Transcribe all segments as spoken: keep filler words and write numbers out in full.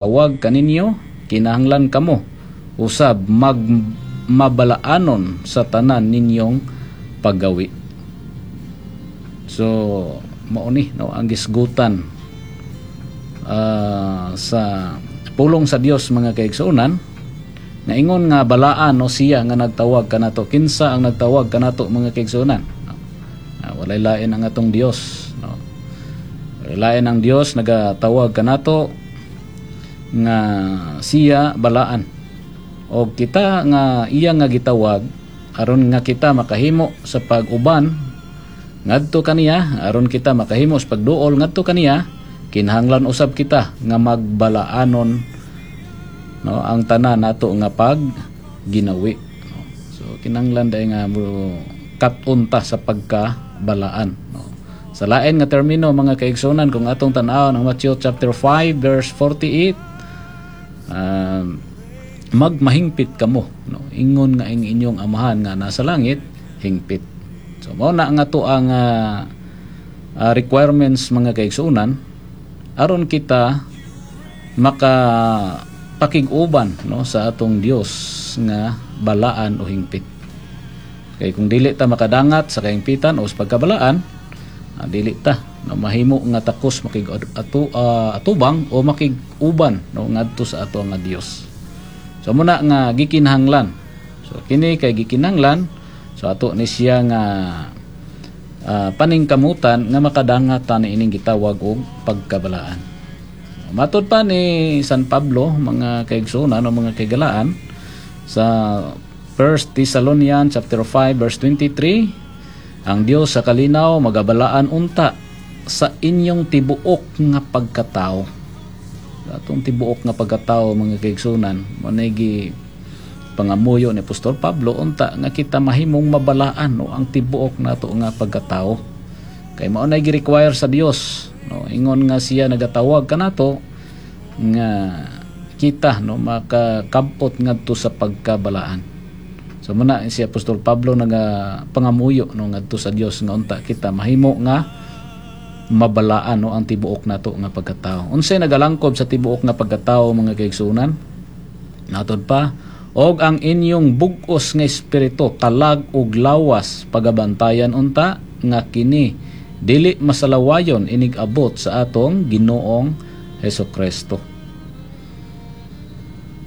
Tawag kaninyo, kinahanglan kamo usab mag mabalaanon sa tanan ninyong paggawi. So mao ni, no, ang gisgutan ah, sa pulong sa Dios, mga kaigsuonan, nga ingon nga balaan, no, siya nga nagtawag kanato. Kinsa ang nagtawag kanato, mga kaigsuonan? Ah, walay lain ang atong Dios, no? Walay lain ang Dios nagatawag kanato nga siya balaan. O kita nga iya nga gitawag, aron nga kita makahimo sa pag-uban ngadto kaniya, aron kita makahimo sa pagduol ngadto kaniya, kinahanglan usab kita nga magbalaanon, no, ang tanan nato nga pag ginawi, no? So kinahanglan dai nga mo kat-on ta sa pagkabalaan, no? Sa lain nga termino, mga kaigsunan, kung atong tan-awon ang Matthew chapter five verse forty-eight, um, magmahingpit kamo, no, ingon nga ang inyong Amahan nga nasa langit hingpit. So mao na nga to ang ah, ah, requirements, mga kaigsunan, aron kita maka pakig-uban, no, sa atong Dios nga balaan o hingpit. Kay kung dili ta makadangat sa kahingpitan o sa pagkabalaan, ah, dili ta, no, mahimo nga takos makig atu, ah, atubang o makig-uban, no, ngadto sa ato nga Dios. So muna nga gikinahanglan. So kini kay gikinahanglan, so ato ni siya nga ah, paningkamutan nga makadangat ta ni ining gitawag og pagkabalaan. Matod pa ni San Pablo, mga kaigsuonan o mga kaigalaan, sa First Thessalonians chapter five verse twenty-three, ang Dios sa kalinaw magabalaan unta sa inyong tibuok nga pagkatao. Atong tibuok nga pagkatao, mga kaigsunan, mao gi pangamuyo ni Apostol Pablo unta nga kita mahimong mabalaan, no, ang tibuok nato nga pagkatao. Kay mao na gi-require sa Dios, no, ingon nga siya nagatawag kanato nga kita, no, makakabot ngadto sa pagkabalaan. So muna si Apostol Pablo naga pangamuyo, no, ngadto sa Dios nga unta kita mahimo nga mabalaan, no, ang tibuok nato nga pagkatao. Unsay nagalangkob sa tibuok nga pagkatao, mga kaigsunan? Matod pa, og ang inyong bug-os nga espiritu, kalag ug lawas, pagabantayan unta nga kini dili masalawayon inig abot sa atong Ginoong Hesus Kristo.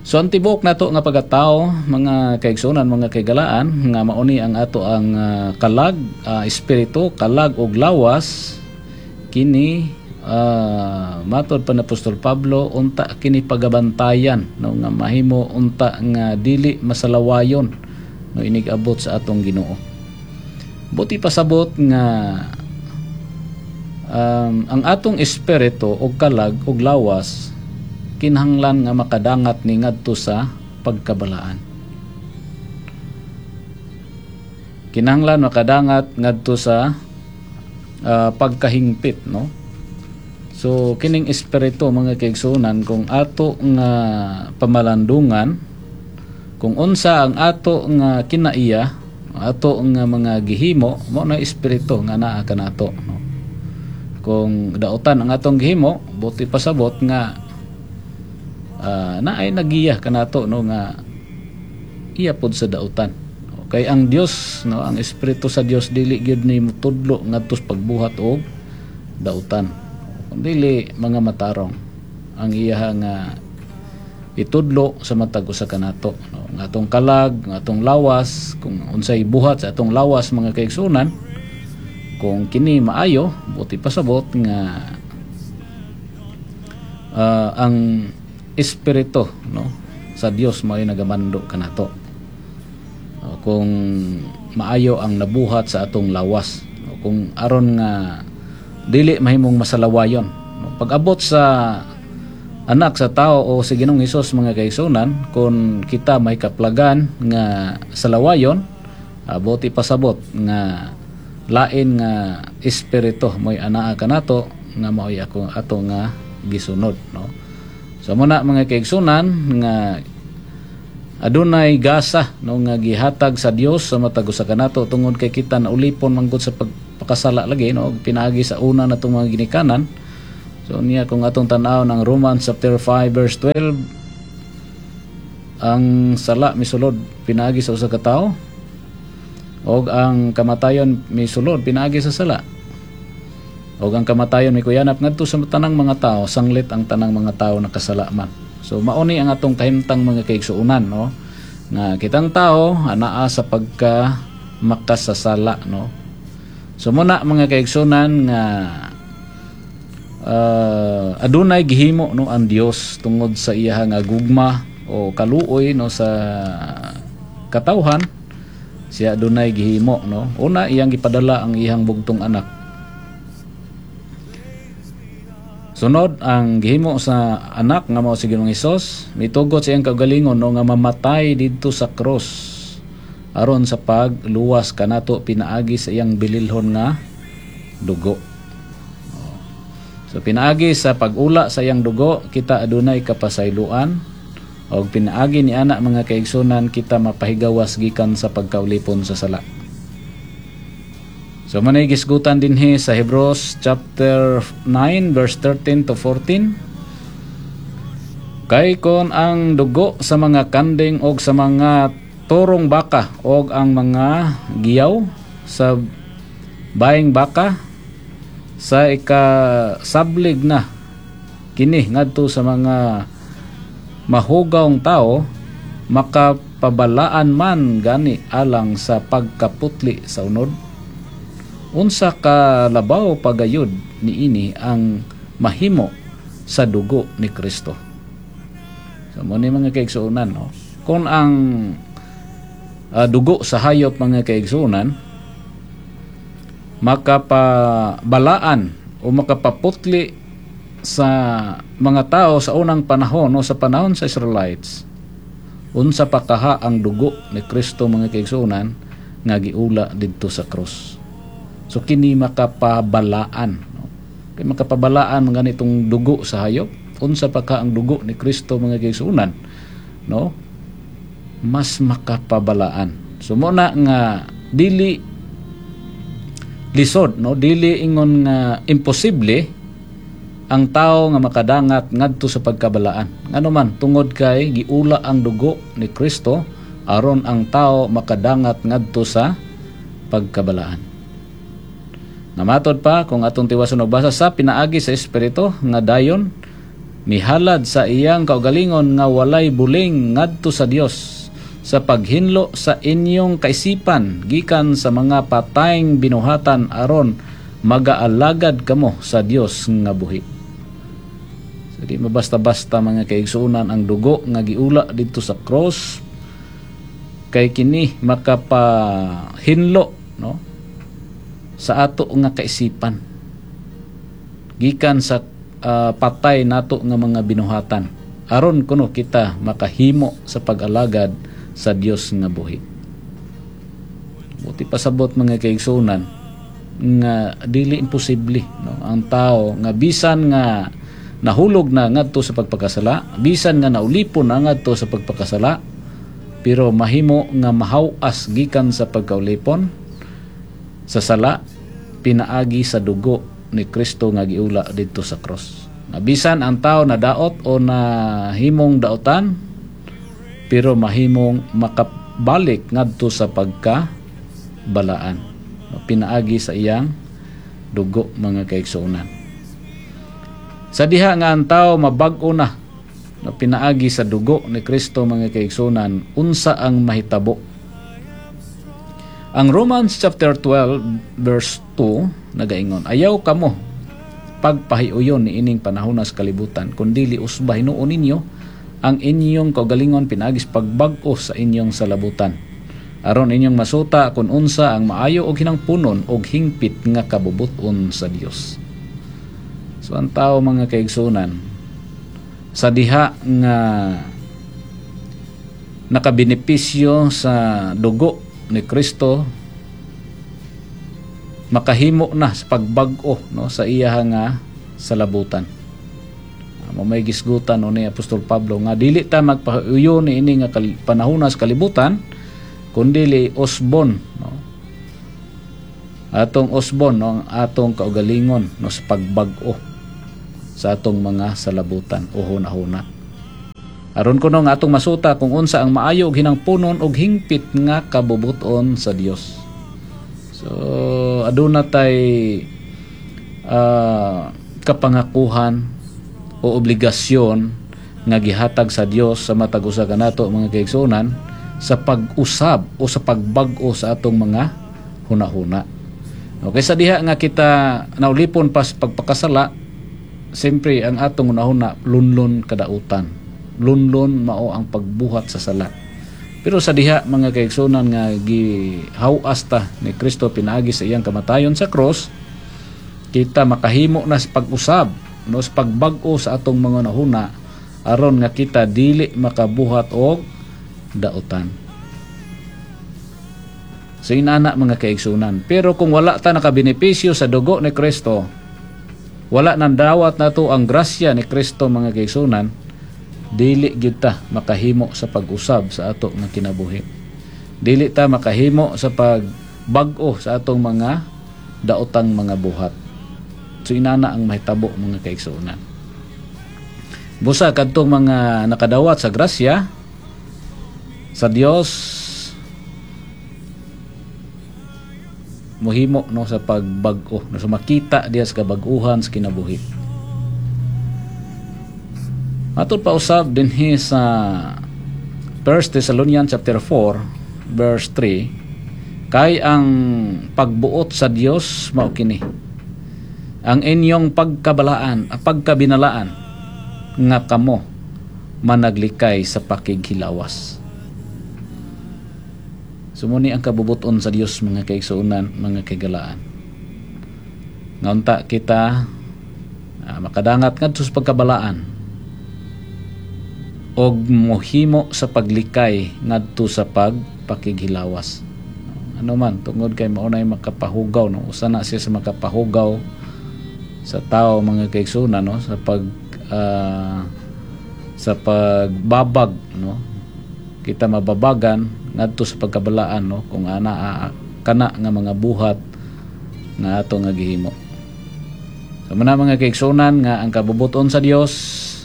So ang tibuok nato nga pagkatao, mga kaigsunan, mga kaigalaan, nga mauni ang ato ang ah, kalag, ah, espiritu, kalag ug lawas, kini uh, matod pa ni Apostol Pablo unta kini pagabantayan, no, nga mahimo unta nga dili masalawayon, no, inig abot sa atong Ginoo. Buot ipasabot nga um, ang atong espiritu ug kalag ug lawas kinahanglan nga makadangat ni ngadto sa pagkabalaan. Kinahanglan makadangat ngadto sa uh, pagkahingpit, no? So kining espiritu, mga kaigsunan, kung ato nga pamalandungan kung unsa ang ato nga kinaiya, ato nga mga gihimo, mao na espiritu nga naa kanato, no? Kung dautan ang atong gihimo, buot ipasabot nga uh, naay nagiya kanato, no, nga iya pod sa dautan. Kay ang Dios, no, ang espiritu sa Dios dili gyud ni mutudlo ngadto sa pagbuhat og dautan. Kung dili mga matarong ang iya nga itudlo sa matag usa kanato, no, nga atong kalag, nga atong lawas, kung unsay buhat sa atong lawas, mga kaigsunan, kung kini maayo, buot ipasabot nga uh, ang espiritu, no, sa Dios mao'y nagamando kanato. Uh, kung maayo ang nabuhat sa atong lawas, no, kung aron nga dili mahimong masalawayon, no, pag-abot sa Anak sa Tao o si Ginoong Hesus, mga kaigsunan, kung kita may kaplagan nga salawayon, uh, buot ipasabot nga lain nga espiritu mo'y anaa kanato nga mao'y ako ato nga gisunod, no? So muna, mga kaigsunan, nga adunay gasa, no, nga gihatag sa Dios sa matag usa kanato tungod kay kita naulipon manggod sa pagpakasala lagi, no, pinaagi sa una natong mga ginikanan. So niya, kung atong tan-aw ng Romans chapter five verse twelve, ang sala misulod pinaagi sa usa ka tawo og ang kamatayon misulod pinaagi sa sala. Og ang kamatayon mikuyanap ngadto sa tanang mga tao sanglit ang tanang mga tao nakasala man. So mao ni ang atong kahimtang, mga kaigsuonan, no, nga kitang tao anaa sa pagka makasasala, no. So muna, mga kaigsuonan, nga uh, adunay gihimo, no, ang Dios tungod sa iya nga gugma o kaluoy, no, sa katawhan. Siya adunay gihimo, no. Una, iyang gipadala ang iyang bugtong anak. Sunod, ang gihimo sa anak nga mao si Ginoong Hesus, mitugot sa iyang kaugalingon, no, nga mamatay didto sa cross aron sa pagluwas kanato pinaagi sa iyang bililhon nga dugo. So pinaagi sa pag-ula sa iyang dugo, kita adunay kapasayloan og pinaagi ni ana, mga kaigsunan, kita mapahigawas gikan sa pagkaulipon sa sala. So manay gisgutan dinhi sa Hebrews chapter nine verse thirteen to fourteen. Kay kon ang dugo sa mga kanding og sa mga torong baka og ang mga giyaw sa baing baka sa ikasablig na kini ngadto sa mga mahugawng tao, makapabalaan man gani alang sa pagkaputli sa unod, unsa ka labaw pagayod niini ang mahimo sa dugo ni Kristo? So mo ni, mga kaigsuonan, no, kung ang uh, dugo sa hayop, mga kaigsuonan, makapabalaan o makapaputli sa mga tao sa unang panahon o sa panahon sa Israelites, unsa pa kaha ang dugo ni Kristo, mga kaigsuonan, nga giula didto sa krus? So kini makapabalaan, no? Kay makapabalaan mga ganitong dugo sa hayop, unsa pa ka ang dugo ni Kristo, mga kaigsuonan, no, mas makapabalaan. So mo na nga dili lisod, no, dili ingon nga imposible ang tao nga makadangat ngadto sa pagkabalaan. Ngano man? Tungod kay giula ang dugo ni Kristo aron ang tao makadangat ngadto sa pagkabalaan. Namatod pa, kung atong tiwason og basa sa pinaagi sa Espiritu nga dayon mihalad sa iyang kaugalingon nga walay buling ngadto sa Dios sa paghinlo sa inyong kaisipan gikan sa mga patayng binuhatan aron magaalagad kamo sa Dios nga buhi. So di mabasta-basta, mga kaigsuonan, ang dugo nga giula didto sa cross kay kini makapahinlo, no, sa ato nga kaisipan gikan sa uh, patay nato nga mga binuhatan aron kuno kita makahimo sa pag-alagad sa Dios nga buhi. Buti pasabot, mga kaigsuonan, nga dili imposible, no, ang tao nga bisan nga nahulog na ngadto sa pagpakasala, bisan nga naulipon na ngadto sa pagpakasala, pero mahimo nga mahaw-as gikan sa pagkaulipon sa sala pinaagi sa dugo ni Kristo nga giula didto sa cross. Nga bisan ang tao na daot o na himong daotan, pero mahimong makabalik ngadto sa pagka balaan pinaagi sa iyang dugo, mga kaigsuonan. Sa diha nga ang tao mabag-o na na pinaagi sa dugo ni Kristo, mga kaigsuonan, unsa ang mahitabo? Ang Romans chapter twelve verse two nagaingon, "Ayaw kamo pagpahiuyon ni ining panahona sa kalibutan, kundili usba hinuon ninyo ang inyong kaugalingon pinaagi sa pagbag-o sa inyong salabutan aron inyong masuta kung unsa ang maayo og hinangpunon og hingpit nga kabubut-on sa Dios." So ang tao, mga kaigsunan, sa diha nga nakabenepisyo sa dugo ni Kristo, makahimo na sa pagbag-o, no, sa iya nga salabutan. Mo may gisgutan, no, ni Apostol Pablo nga dili ta magpahuyo ni ini nga panahona sa kalibutan, kundili usbon, no, atong usbon, no, ang atong kaugalingon, no, sa pagbag-o. sa atong mga salabutan o hunahuna. Aron kuno nga atong masuta kung unsa ang maayo ug hinangpunon ug hingpit nga kabubuton sa Dios. So aduna tay uh, kapangakuhan o obligasyon nga gihatag sa Dios sa matag usa kanato, mga kaigsuonan, sa pag-usab o sa pagbag-o sa atong mga hunahuna. Okay, sa diha nga kita naulipon pa sa pagpakasala, siyempre ang atong hunahuna lunlon kadautan. Lunlon mao ang pagbuhat sa sala. Pero sa diha, mga kaigsuonan, nga gihawas ta ni Kristo pinaagi sa iyang kamatayon sa cross, kita makahimo na sa pag-usab, no, sa pagbag-o sa atong mga hunahuna aron nga kita dili makabuhat og dautan. So inana, mga kaigsunan. Pero kung wala ta nakabenepisyo sa dugo ni Kristo, wala nang dawat nato ang grasya ni Kristo, mga kaigsunan, dili gyud ta makahimo sa pag-usab sa ato nga kinabuhi. Dili ta makahimo sa pagbag-o sa atong mga daotang mga buhat. So inana ang mahitabo, mga kaigsuonan. Busa kadtong mga nakadawat sa grasya sa Dios, mohimo, no, sa pagbag-o, no, so makita diya sa kabag-uhan sa kinabuhi. Matod pa usab dinhi sa First Thessalonians chapter four verse three, kay ang pagbuot sa Dios mao kini, ang inyong pagkabalaan, pagkabinalaan nga kamo managlikay sa pakighilawas. Sumuni ang kabubuton sa Dios, mga kaigsuonan, mga kaigalaan. Nga kita uh, makadangat ngadto sa pagkabalaan og mohimo sa paglikay ngadto sa pagpakighilawas. Ano man, tungod kay mao nay makapahugaw, no, usa na siya sa makapahugaw sa tao, mga kaigsuonan, no, sa pag uh, sa pagbabag, no, kita mababagan ngadto sa pagkabalaan, no, kung ana uh, kana nga mga buhat nga ato nga gihimo. So mana, mga kaigsuonan, nga ang kabubuton sa Dios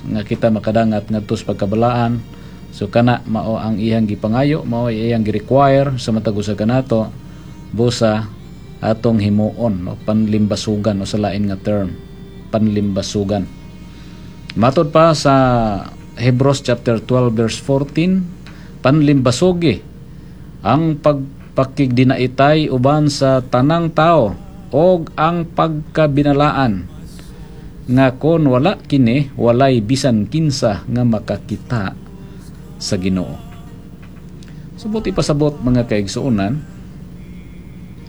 nga kita makadangat ngadto sa pagkabalaan. So kana mao ang iyang gipangayo, mao iyang gi-require sa matag usa kanato, busa atong himuon, no, panlimbasugan o sa lain nga term, panlimbasugan. Matod pa sa Hebrews chapter twelve verse fourteen, panlimbasugi ang pagpakigdinaitay uban sa tanang tao og ang pagkabinalaan, nga kon wala kini, walay bisan kinsa nga makakita sa Ginoo. Subot ipasabot, mga kaigsuonan,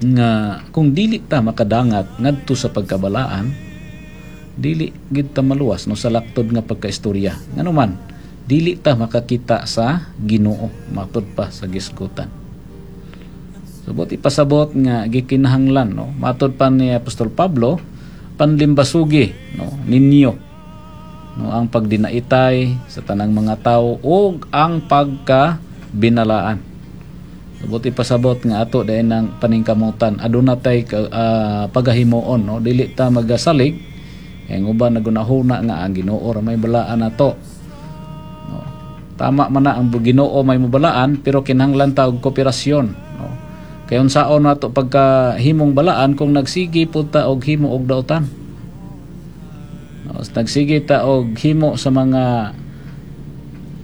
nga kung dili ta makadangat ngadto sa pagkabalaan, dili gid ta maluwas, no, sa laktod nga pagkaistorya. Ngano man, dili ta makakita sa Ginoo, matud pa sa gisgutan. Subot ipasabot nga gikinahanglan, no, matud pa ni Apostol Pablo, panlimbasugi, no, ninyo, no, ang pagdinaitay sa tanang mga tao ug ang pagkabinalaan. Subot ipasabot nga ato dayon ang paningkamutan, aduna tay uh, pagahimuon, no, dili ta magasalig kay uban nagunahuna nga ang Ginoo ra may balaan nato, no. Tama man na ang Ginoo may mobalaan, pero kinahanglan ta og kooperasyon, no, kay unsaon nato pagkahimong balaan kung nagsige pud ta og himo og dautan, no? Nagsige ta og himo sa mga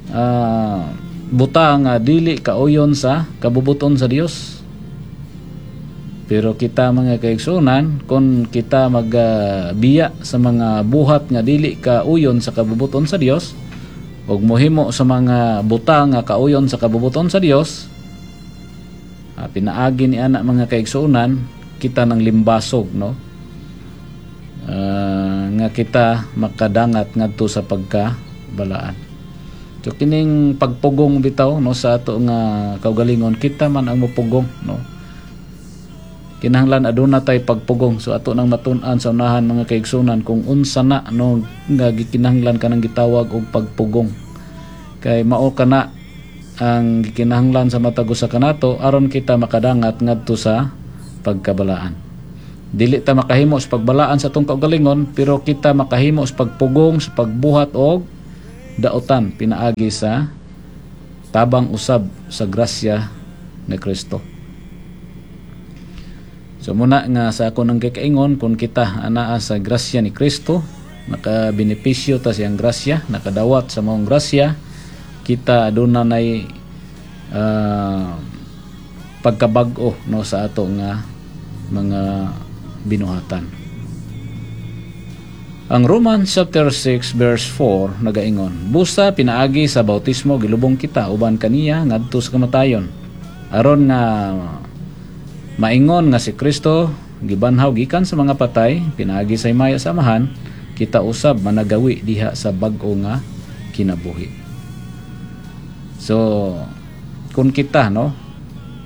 uh, buta nga dili kauyon sa kabubuton sa Dios. Pero kita, mga kaigsuonan, kung kita magbiya uh, sa mga buhat nga dili kauyon sa kabubuton sa Dios ug mohimo sa mga buta nga kauyon sa kabubuton sa Dios, uh, pinaagi ni ana, mga kaigsuonan, kita ng limbasog, no, uh, nga kita makadangat ngadto sa pagkabalaan. So kining pagpugong bitaw, no, sa ato nga kaugalingon, kita man ang mopugong, no. Kinahanglan aduna tay pagpugong. So ato nang matun-an sa unahan, mga kaigsunan, kung unsa na, no, nga gikinahanglan kanang gitawag og pagpugong. Kay mao kana ang gikinahanglan sa matag usa kanato aron kita makadangat ngadto sa pagkabalaan. Dili ta makahimo sa pagbalaan sa atong kaugalingon, pero kita makahimo sa pagpugong, sa pagbuhat og daotan pinaagi sa tabang usab sa grasya ni Kristo. So muna nga sa ako nang kikaingon, kung kita anaa sa grasya ni Kristo, nakabenepisyo ta siyang grasya, nakadawat sa maong grasya, kita aduna nay uh, pagkabag-o, no, sa ato nga mga binuhatan. Ang Romans chapter six verse four nagaingon, "Busa pinaagi sa bautismo gilubong kita uban kaniya ngadto sa kamatayon, aron nga maingon nga si Kristo gibanhaw gikan sa mga patay pinaagi sa himaya sa Amahan, kita usab managawi diha sa bag-o nga kinabuhi." So kung kita, no,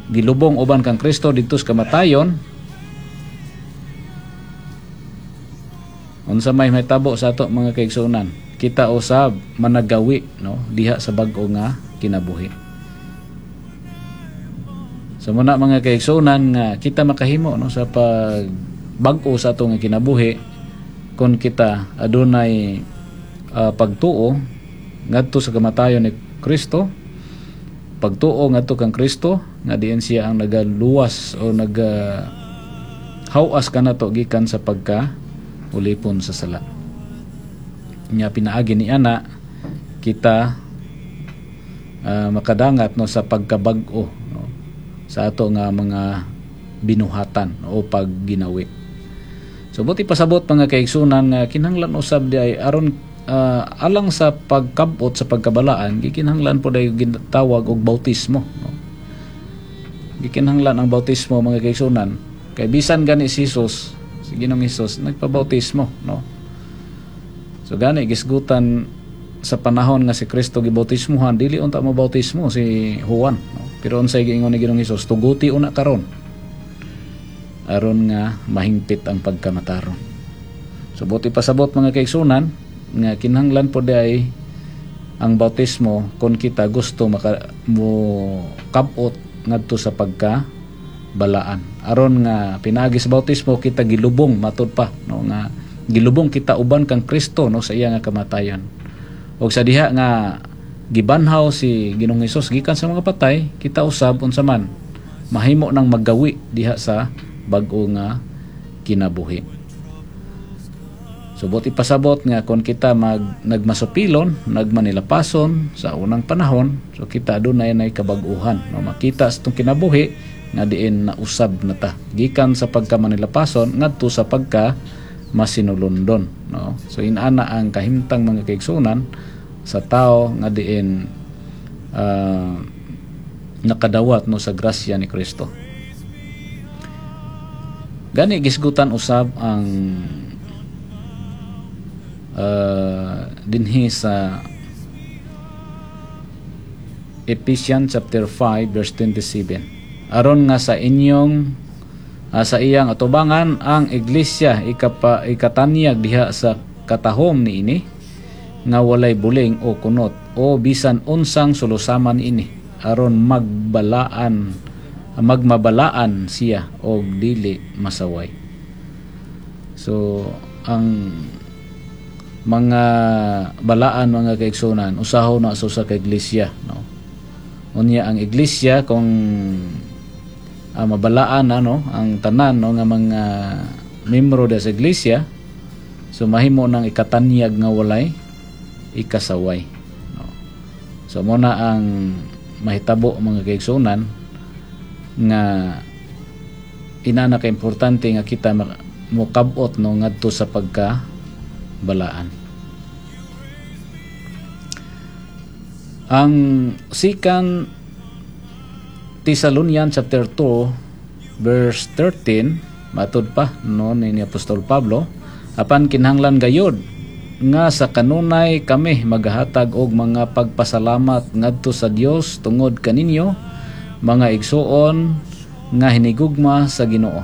gilubong uban kang Kristo didto sa kamatayon, unsa may mahitabo sa ato, mga kaigsuonan? Kita usab managawi, no, diha sa bag-o nga kinabuhi. So muna, mga kaigsuonan, nga kita makahimo, no, sa pagbag-o sa ato nga kinabuhi kung kita adunay uh, pagtuo ngadto sa kamatayon ni Kristo, pagtuo ngadto kang Kristo nga diin siya ang nagaluwas o naga hawas kanato gikan sa pagka ulipon sa sala. Nya pinaagi ni ana kita uh, makadangat, no, sa pagkabag-o, no, sa ato nga mga binuhatan o pagginawi. So buti pasabot, mga kaigsunan, nga kinahanglan usab di ay aron uh, alang sa pagkabot sa pagkabalaan, gikinahanglan po day ginatawag og bautismo, no? Gikinahanglan ang bautismo, mga kaigsunan, kay bisan gani si Jesus, si Ginoong Hesus, nagpabautismo, no? So gani gisgutan sa panahon nga si Kristo gibautismuhan, dili unta mabautismo si Juan, no? Pero unsay giingon ni Ginoong Hesus? "Tuguti una karon aron nga mahingpit ang pagkamataron." So buti pasabot, mga kaigsunan, nga kinahanglan po ay ang bautismo kung kita gusto maka, mo kabot ngadto sa pagka balaan, aron nga pinaagi sa bautismo kita gilubong, matud pa, no, nga gilubong kita uban kang Kristo, no, sa iya nga kamatayon, ug sa diha nga gibanhaw si Ginoong Hesus gikan sa mga patay, kita usab unsa man mahimo nang maggawi diha sa bag-o nga kinabuhi. So buti pasabot nga kung kita mag nagmasupilon, nagmanilapason sa unang panahon, so kita adunay nay kabag-uhan, no, makita sa itong kinabuhi nga diin nausab na ta gikan sa pagka manilapason ngadto sa pagka masinulondon, no? So inana ang kahimtang, mga kaigsunan, sa tao nga diin uh, nakadawat, no, sa grasya ni Kristo. Gani gisgutan usab ang uh, dinhi sa Ephesians chapter five verse twenty-seven, aron nga sa inyong uh, sa iyang atubangan ang iglesia ikapa, ikatanyag diha sa katahom niini nga walay buling o kunot o bisan unsang sulusaman ini, aron magbalaan magmabalaan siya og dili masaway. So ang mga balaan, mga kaigsunan, usaho na sa usa ka iglesia, no? Unya ang iglesia kung uh, mabalaan na, no, ang tanan, no, nga mga membro sa iglesia, so mahimo nang ikatanyag nga walay ikasaway, no? So mo na ang mahitabo, mga kaigsunan, nga inana ka importante nga kita mokab-ot, no, ngadto sa pagka balaan. Ang Second Thessalonians chapter two verse thirteen, matud pa, no, ni Apostol Pablo, "Apan kinahanglan gayud nga sa kanunay kami maghatag og mga pagpasalamat ngadto sa Dios tungod kaninyo, mga igsuon nga hinigugma sa Ginoo.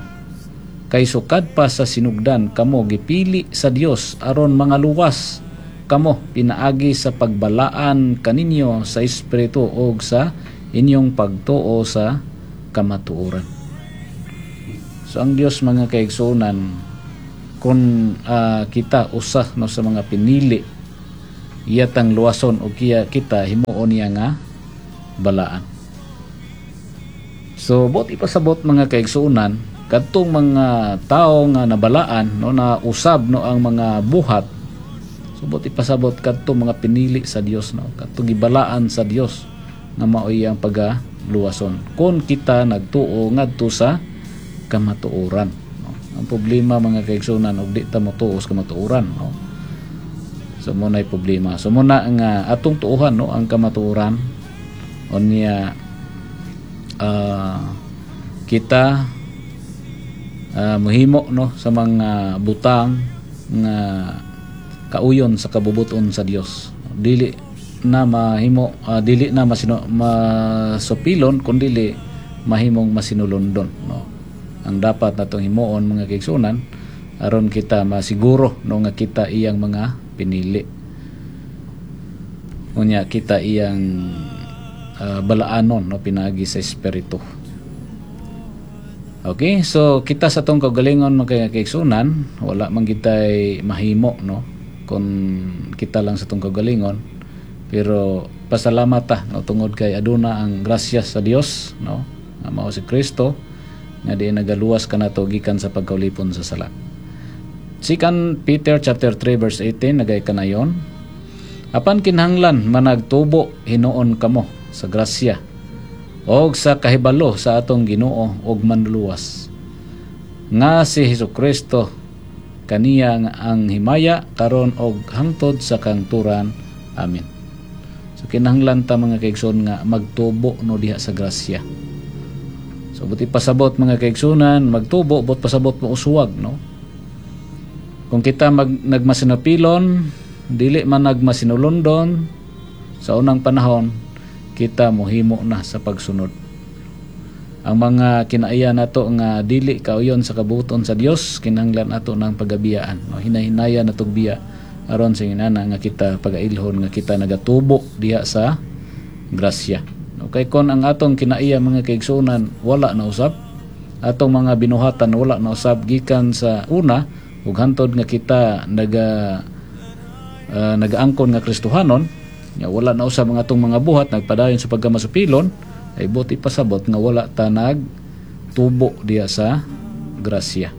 Kay sukad pa sa sinugdan kamo gipili sa Dios aron mga luwas kamo pinaagi sa pagbalaan kaninyo sa Espiritu og sa inyong pagtuo sa kamatuoran." So ang Dios, mga kaigsuonan, kung ah, kita usa, no, sa mga pinili, iya tang luwason o kiya kita himuon niya nga balaan. So buot ipasabot, mga kaigsuonan, kadtong mga tao nga nabalaan, no, na usab, no, ang mga buhat. So buot ipasabot, kadtong mga pinili sa Dios, no, kadtong gibalaan sa Dios nga maoy ang pagaluwason kung kita nagtuo ngadto sa kamatuoran, no. Ang problema, mga kaigsuonan, og di ta motuo sa kamatuoran, no. So mao nay problema. So mao na nga atong tuohan, no, ang kamatuoran. Unya ah, kita ah, mohimo, no, sa mga butang nga kauyon sa kabubuton sa Dios. Dili na mahimo ah, dili na masino, masupilon kun dili mahimong masinulondon, no. Ang dapat natong himuon, mga kaigsuonan, aron kita masiguro, no, nga kita iyang mga pinili, unya kita iyang ah, balaanon, no, pinaagi sa Espiritu. Okay, so kita sa atong kaugalingon, mga kaigsuonan, wala man kitay mahimo, no, kung kita lang sa atong kaugalingon. Pero pasalamat ta, no, tungod kay aduna ang grasya sa Dios, no, nga mao si Kristo nga di nagaluwas kanato gikan sa pagkaulipon sa sala. Second Peter chapter three verse eighteen nagay kanayon, "Apan kinahanglan managtubo hinuon kamo sa grasya og sa kahibalo sa atong Ginoo ug Manluluwas nga si Hesukristo. Kaniya nga ang himaya karon og hangtod sa kahangturan. Amen." So kinahanglan ta, mga kaigsoon, nga magtubo, no, diha sa grasya. So buot ipasabot, mga kaigsunan, magtubo, buot pasabot mo uswag, no. Kung kita mag nagmasinapilon, dili man nagmasinulondon sa unang panahon, kita mohimo na sa pagsunod. Ang mga kinaiya nato nga dili kauyon sa kabuton sa Dios, kinahanglan nato ng pagabiyaan, no? Hinahinaya natog biya aron sa inana nga kita pagailhon nga kita nagatubo diha sa grasya. Okay, kon ang atong kinaiya, mga kaigsuonan, wala na usab, atong mga binuhatan wala na usab gikan sa una ug hantod nga kita naga uh, nagaangkon nga Kristohanon, nga wala na usab ang atong mga buhat, nagpadayon sa pagkamasupilon, ay buot ipasabot nga wala ta nag tubo diha sa grasya.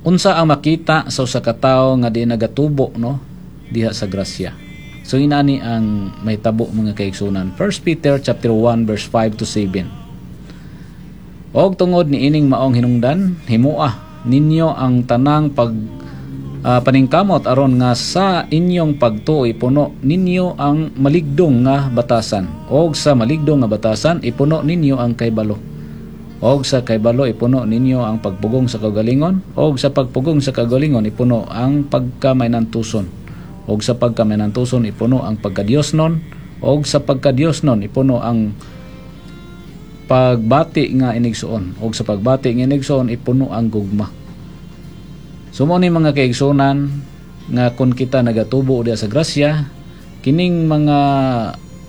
Unsa ang makita sa usa ka tawo nga di nagatubo, no, diha sa grasya? So inani ang mahitabo, mga kaigsunan. First Peter chapter one verse five to seven. "Og tungod ni ining maong hinungdan, himoa ninyo ang tanang pag uh, paningkamot aron nga sa inyong pagtuo ipuno ninyo ang maligdong nga batasan, og sa maligdong nga batasan ipuno ninyo ang kahibalo, og sa kahibalo ipuno ninyo ang pagpugong sa kaugalingon, og sa pagpugong sa kaugalingon ipuno ang pagkamainantuson, og sa pagkamainantuson ipuno ang pagkadiosnon, og sa pagkadiosnon ipuno ang pagbati nga inigsuon, og sa pagbati nga inigsuon ipuno ang gugma." So mao ni, mga kaigsunan, nga kung kita nagatubo diha sa grasya, kining mga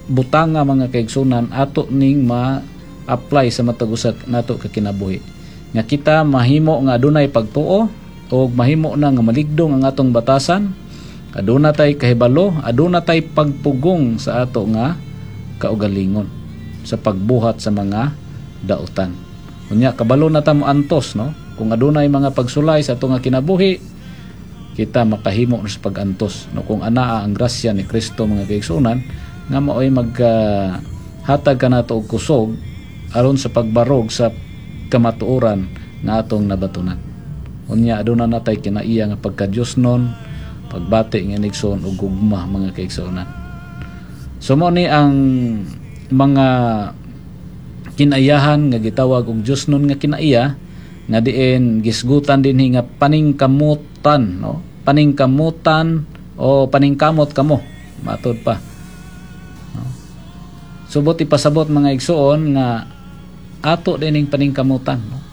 butanga, mga kaigsunan, ato ning ma-apply sa matag usa nato ka kinabuhi. Nga kita mahimo nga adunay pagtuo og mahimo na nga maligdong ang atong batasan, aduna tay kahibalo, aduna tay pagpugong sa ato nga kaugalingon sa pagbuhat sa mga dautan. Unya kabalo na ta mo antos, no? Kung adunay mga pagsulay sa ato nga kinabuhi, kita makahimo na sa pag-antos, no, kung anaa ang grasya ni Kristo, mga kaigsunan, nga maoy magka hatag kanato og kusog aron sa pagbarog sa kamatuoran nga atong nabatunan. Unya aduna natay kinaiya nga pagka-Diosnon, pagbati nga inigsoon ug gugma, mga kaigsuonan. So mao ni ang mga kinaiyahan nga gitawag og Diosnon nga kinaiya nga diin gisgutan dinhi nga paningkamutan, no, paningkamutan o paningkamot kamo, matod pa, no? So buot ipasabot, mga igsuon, nga ato dining paningkamutan, no?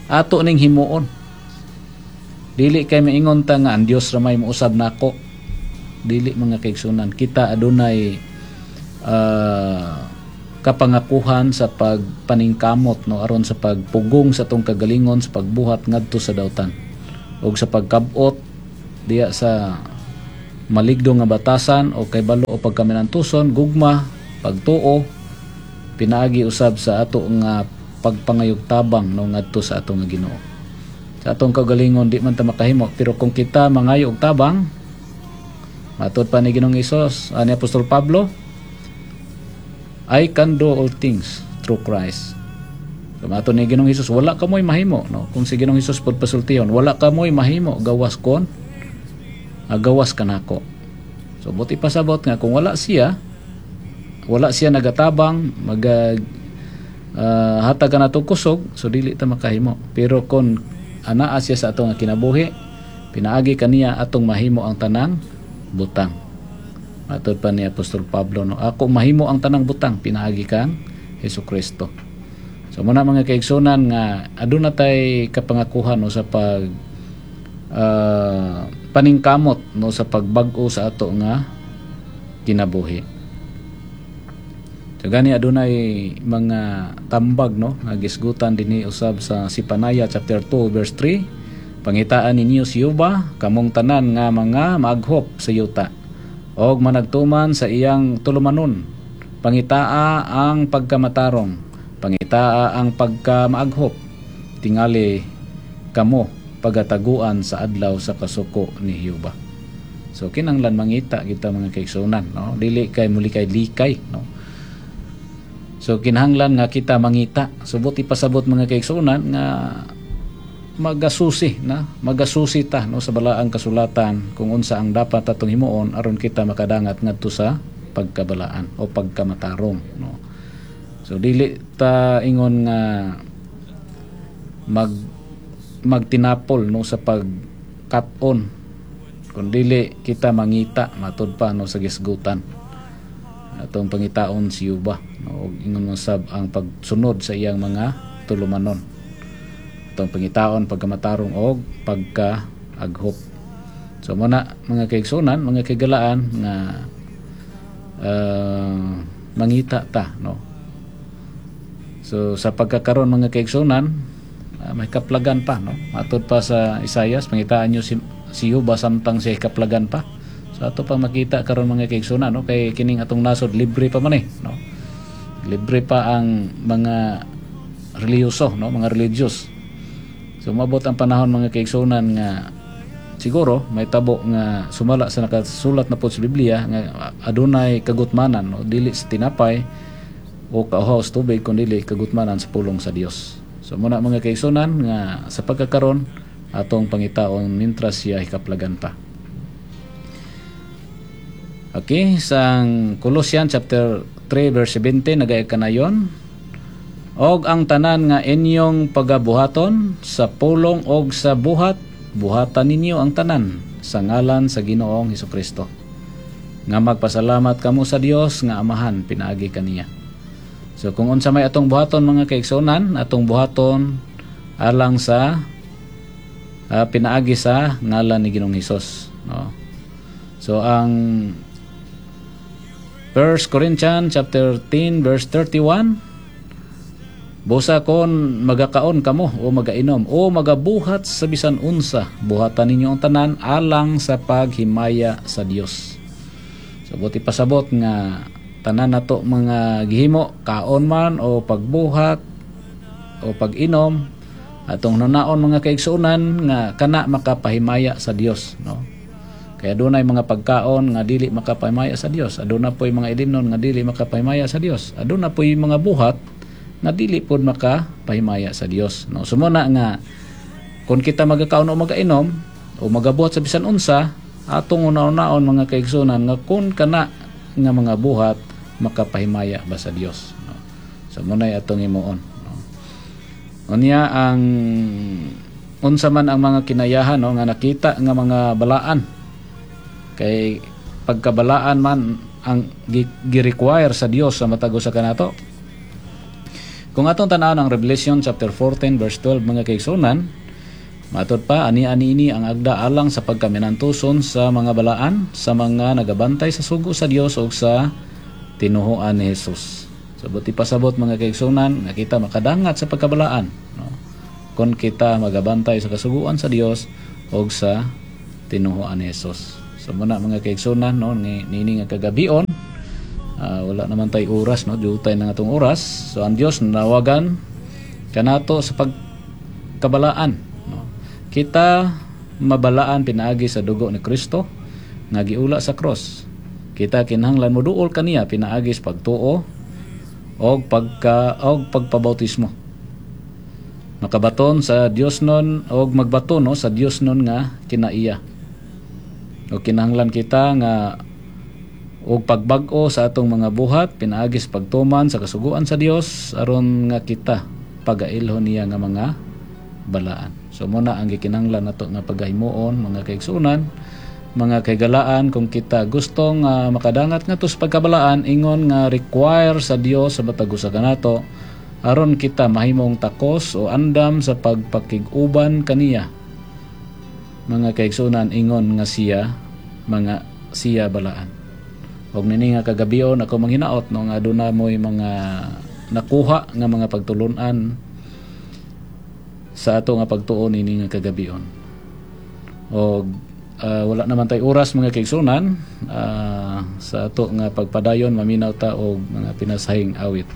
Ato ning himuon. Dili kay maingon ta nga ang Dios ra may mousab nako. Dili, mga kaigsunan. Kita adunay uh, Kapangakuhan sa pagpaningkamot, no, aron sa pagpugong sa atong kagalingon sa pagbuhat ngadto sa dautan ug sa pagkab-ot diya sa maligdo nga batasan o kay balo o pagkaminantuson, gugma, pagtuo, pinaagi usab sa ato nga pagpangayog tabang, no, ngadto sa ato nga Ginoo. Sa atong kaugalingon, di man ta makahimo, pero kung kita mangayo og tabang, matud pa ni Ginoong Hesus, ani Apostol Pablo, "I can do all things through Christ." So, matud ni Ginoong Hesus, wala kamoy mahimo, no? Kung si Ginoong Hesus pod pasultihon, "Wala kamoy mahimo gawas kon ah, gawas kanako." So buot ipasabot nga kung wala siya, wala siya nagatabang, maga uh, hatag kanato kusog, so dili ta makahimo. Pero kung anaa siya sa atong kinabuhi, pinaagi kaniya atong mahimo ang tanang butang. Matod pa ni Apostol Pablo, no, "Ako mahimo ang tanang butang pinaagi kang Hesus Kristo." So muna, mga kaigsunan, nga aduna tay kapangakuhan, no, sa pag uh, paningkamot, no, sa pagbag-o sa ato nga kinabuhi. So gani adunay mga tambag, no, nga gisgutan dinhi usab sa Zephaniah chapter two verse three: "Pangitaan ninyo si Jehova, kamong tanan nga mga maaghop sa yuta og managtuman sa iyang tulumanon. Pangitaa ang pagkamatarong, pangitaa ang pagkamaaghop. Tingali kamo pagataguan sa adlaw sa kasuko ni Jehova." So kinanglan mangita kita, mga kaigsunan, no? Dili kay muli kay likay, no? So kinahanglan nga kita mangita. So buot ipasabot, mga kaigsunan, nga magasusi na magasusi ta, no, sa Balaang Kasulatan kung unsa ang dapat atong himuon aron kita makadangat ngadto sa pagkabalaan o pagkamatarong, no? So dili ta ingon nga mag magtinapol, no, sa pagkat-on kun dili kita mangita matud pa, no, sa gisgutan. Atong pangitaon si Jehova, no, ug ingon man sab ang pagsunod sa iyang mga tulumanon. Atong pangitaon pagkamatarong og pagka-aghop. So muna, mga kaigsunan, mga kaigalaan, nga uh, mangita ta, no? So sa pagkakaron, mga kaigsunan, uh, may kaplagan pa, no? Matud pa sa Isaias, "Pangitaan niyo si si Jehova samtang siya kaplagan pa." So ato pa makita karon, mga kaigsunan, no, kay kining atong nasod libre pa man eh, no? Libre pa ang mga relihiyoso, no, mga religious. So mabot ang panahon, mga kaigsunan, nga siguro may tabo nga sumala sa nakasulat na po sa Biblia nga adunay kagutmanan, no, dili sa tinapay o kauhaw sa tubig, kundi kagutmanan sa pulong sa Dios. So muna, mga kaigsunan, nga sa pagkakaron atong pangitaon mintras siya hikaplagan pa. Okay, sa Colossians chapter three verse seventeen nagaya kanayon: "Og ang tanan nga inyong pagabuhaton sa pulong og sa buhat, buhatan ninyo ang tanan sa ngalan sa Ginoong Hesukristo. Nga magpasalamat kamo sa Dios nga Amahan pinaagi kaniya." So kung unsa may atong buhaton, mga kaigsunan, atong buhaton alang sa uh, pinaagi sa ngalan ni Ginoong Hesus, no? So ang First Corinthians chapter ten verse thirty-one: "Busa kon magakaon kamo o magainom o magabuhat sa bisan unsa, buhatan ninyo ang tanan alang sa paghimaya sa Dios." So buot ipasabot nga tanan nato mga gihimo, kaon man o pagbuhat o pag-inom, atong hunaon, mga kaigsuonan, nga kana makapahimaya sa Dios, no? Kaya dunay mga pagkaon nga dili makapahimaya sa Dios, aduna po'y mga ilimnon nga dili makapahimaya sa Dios, aduna po'y mga buhat nga dili pod makapahimaya sa Dios, no? So muna nga kung kita magakaon o magainom o magabuhat sa bisan unsa, atong una-unaon, mga kaigsunan, nga kung kana nga mga buhat makapahimaya ba sa Dios, no? So muna'y atong himuon, no? Unya ang unsa man ang mga kinayahan, no, nga nakita nga mga balaan, kay pagkabalaan man ang gi-require sa Dios sa matag usa kanato. Kung atong tan-awon ang Revelation chapter fourteen verse twelve, mga kaigsunan, matod pa ani ani ini ang agda alang sa pagkaminantuson sa mga balaan, sa mga nagabantay sa sugo sa Dios ug sa tinuhuan ni Jesus. So buot ipasabot, mga kaigsunan, nga kita makadangat sa pagkabalaan, no, kung kita magabantay sa kasuguan sa Dios og sa tinuhuan ni Jesus. So muna, mga kaigsunan, no, ni nini nga kagabion, ah, wala naman tay oras, no, jutay na nga atong oras. So ang Dios nanawagan kanato sa pagkabalaan, no. Kita mabalaan pinaagi sa dugo ni Kristo nga giula sa cross. Kita kinahanglan moduol kaniya pinaagi sa pagtuo og pagka og pagpabautismo. Makabaton sa Dios nun og magbaton, no, sa Dios nun nga kinaiya. O kinahanglan kita nga og pagbag-o sa atong mga buhat pinaagi sa pagtuman sa kasuguan sa Dios aron nga kita pagailhon niya nga mga balaan. So muna ang gikinahanglan nato nga pagahimuon, mga kaigsuonan, mga kahigalaan, kung kita gustong uh, makadangat ngadto sa pagkabalaan ingon nga require sa Dios sa matag usa kanato aron kita mahimong takos o andam sa pagpakig-uban kaniya, mga kaigsuonan, ingon nga siya mga siya balaan. Og nini nga kagabion, ako manghinaot, no, nga aduna mo'y mga nakuha nga mga pagtulunan sa ato nga pagtuo nini nga kagabion. Og uh, wala naman tay oras, mga kaigsunan, uh, sa ato nga pagpadayon, maminaw ta og mga pinasahing awit.